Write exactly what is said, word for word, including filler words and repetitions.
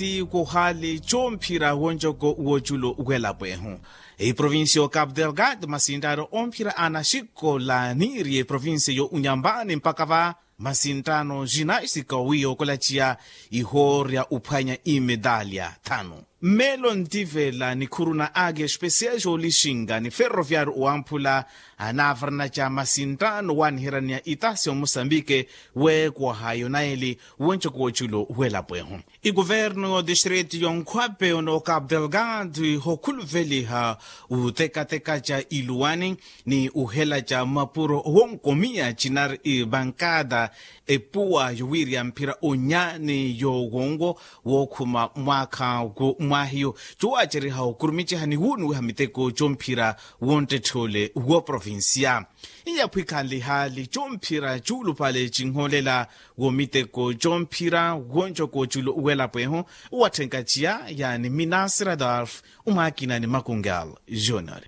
ti kuhali comphira wonjoko woculu welapo ehu. Eprovincia yo capu delgado masinttano omphira anaxikola niiri eprovincia yo unyambani mpaka va masinttano jinastika wiya okolaciya ihoorya uphwanya imedalya thanu. Mmelo ntivela nikhuru na agi especial jolixinga ni ferroviario owamphula anavaranaca masinttano waniheraniya itasi omosambike weekwaha yonaeli wonjoko woculu welapo ehu. Ikuvernu yo distrito yo nkhwape ono capu delgado hokhuluveliha utekateka ca iluwani ni uhela ca mapuro wonkomiya cinari ibankada epuwa yowiriya mphira onyani yowongo wokhuma mwaakha wo mwahiyo cowaceriha okurumiciha ni wunuwiha miteko comphira wonttetthole wo provincia. Iyaphwikhanlihali comphira cuulupale cinholela wo miteko comphira wonjoko culu welapo ehu. Uwatthenkaciya yani minasira dolf umwakina ni makungal junior.